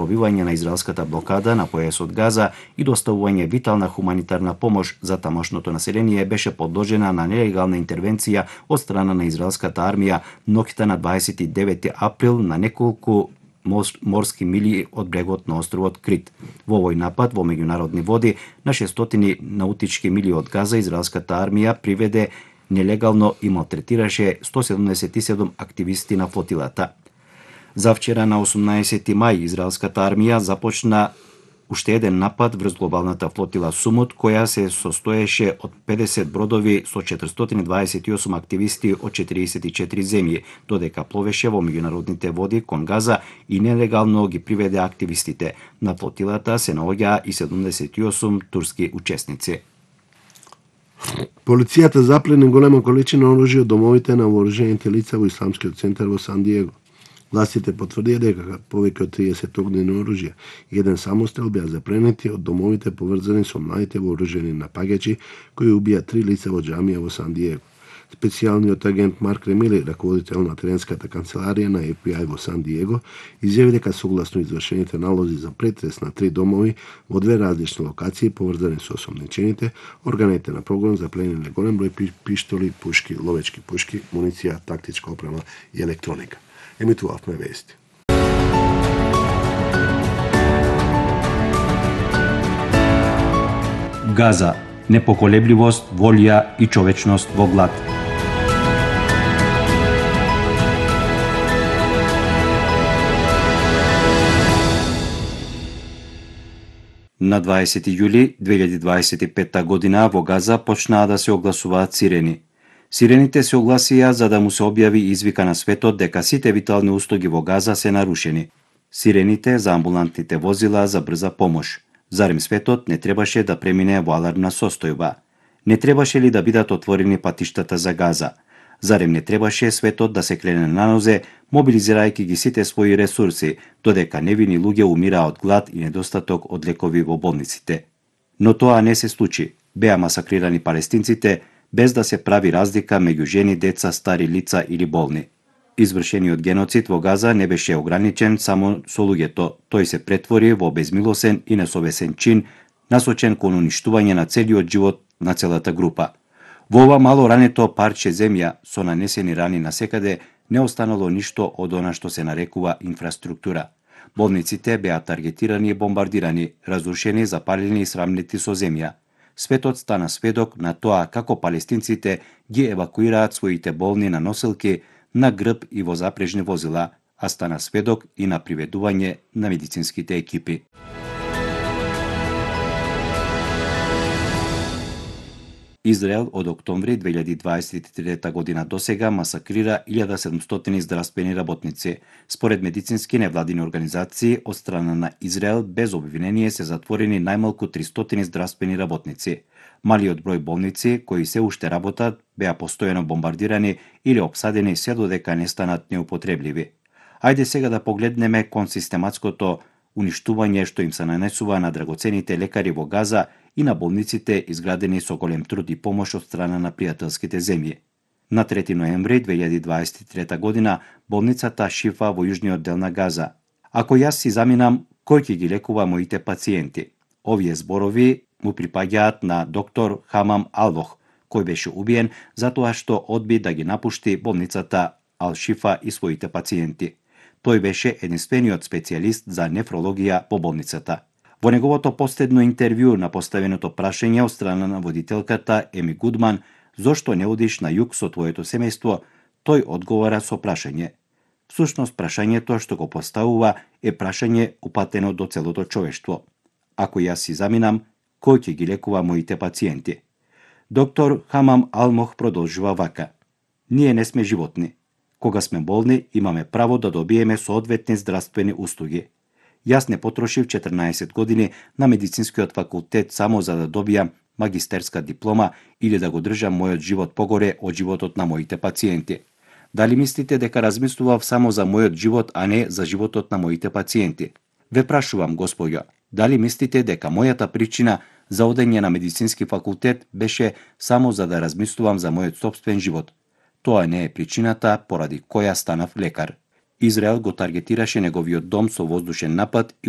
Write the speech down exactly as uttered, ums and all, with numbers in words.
пробивање на израелската блокада на појасот Газа и доставување витална хуманитарна помош за тамошното население беше подложена на нелегална интервенција од страна на израелската армија ноќта на дваесет и девети април на неколку морски мили од брегот на островот Крит. Во овој напад во меѓународни води на шестстотини наутички мили од Газа израелската армија приведе нелегално и малтретираше сто седумдесет и седум активисти на флотилата. Завчера на осумнаесети мај израелската армија започна уште еден напад врз глобалната флотила Сумут, која се состоеше од педесет бродови со четиристотини дваесет и осум активисти од четириесет и четири земји, додека пловеше во меѓународните води кон Газа и нелегално ги приведе активистите. На флотилата се наоѓаа и седумдесет и осум турски учесници. Полицијата заплени голема количина оружје од домовите на вооружените лица во Исламскиот центар во Сан Диего. Властите потврдија дека повеќе од триесет огнени оружја и еден самострел беа запленети од домовите поврзани со младите вооружени напаѓачи кои убија три лица во џамија во Сан Диего. Специјалниот агент Марк Ремили, раководител на теренската канцеларија на Еф Би Ај во Сан Диего, изјави дека согласно извршените налози за претрес на три домови во две различни локации поврзани со осомничените, органите на прогон заплениле голем број пиштоли, пушки, ловечки пушки, муниција, тактичка опрема и електроника. Емитувавме вести. Газа, непоколебливост, волја и човечност во глад. На дваесети јули две илјади дваесет и петта година во Газа почнаа да се огласуваат сирени. Сирените се огласија за да му се објави извика на светот дека сите витални услуги во Газа се нарушени. Сирените за амбулантните возила за брза помош. Зарем светот не требаше да премине во алармна состојба? Не требаше ли да бидат отворени патиштата за Газа? Зарем не требаше светот да се крене на нозе, мобилизирајќи ги сите своји ресурси, додека невини луѓе умираа од глад и недостаток од лекови во болниците? Но тоа не се случи. Беа масакрирани палестинците, без да се прави разлика меѓу жени, деца, стари лица или болни. Извршениот геноцид во Газа не беше ограничен само со луѓето, тој се претвори во безмилосен и несовесен чин, насочен кон уништување на целиот живот на целата група. Во ова мало рането парче земја со нанесени рани насекаде не останало ништо од она што се нарекува инфраструктура. Болниците беа таргетирани и бомбардирани, разрушени, запалени и срамнети со земја. Светот стана сведок на тоа како палестинците ги евакуираат своите болни на носилки, на грб и во запрежни возила, а стана сведок и на приведување на медицинските екипи. Израел од октомври две илјади дваесет и трета година досега масакрира илјада и седумстотини здравствени работници. Според медицински невладини организации, од страна на Израел без обвинение се затворени најмалку тристотини здравствени работници. Малиот број болници, кои се уште работат, беа постојано бомбардирани или опсадени се додека не станат неупотребливи. Ајде сега да погледнеме кон систематското уништување што им се нанесува на драгоцените лекари во Газа и на болниците изградени со голем труд и помош од страна на пријателските земји. На трети ноември две илјади дваесет и трета година болницата Шифа во јужниот дел на Газа. Ако јас си заминам, кој ќе ги лекува моите пациенти? Овие зборови му припаѓаат на доктор Хамам Алвох, кој беше убиен затоа што одби да ги напушти болницата Ал-Шифа и своите пациенти. Тој беше единствениот специјалист за нефрологија по болницата. Во неговото последно интервју на поставеното прашање од страна на водителката Еми Гудман «Зошто не одиш на југ со твоето семејство?», тој одговара со прашање. Всушност прашањето што го поставува е прашање упатено до целото човештво. Ако јас си заминам, кој ќе ги лекува моите пациенти? Доктор Хамам Алмох продолжува вака. Ние не сме животни. Кога сме болни, имаме право да добиеме соодветни здравствени услуги. Јас не потрошив четрнаесет години на медицинскиот факултет само за да добијам магистерска диплома или да го држам мојот живот погоре од животот на моите пациенти. Дали мислите дека размислував само за мојот живот, а не за животот на моите пациенти? Ве прашувам, господјо, дали мислите дека мојата причина за одење на медицински факултет беше само за да размислувам за мојот сопствен живот? Тоа не е причината поради која станав лекар. Израел го таргетираше неговиот дом со воздушен напад и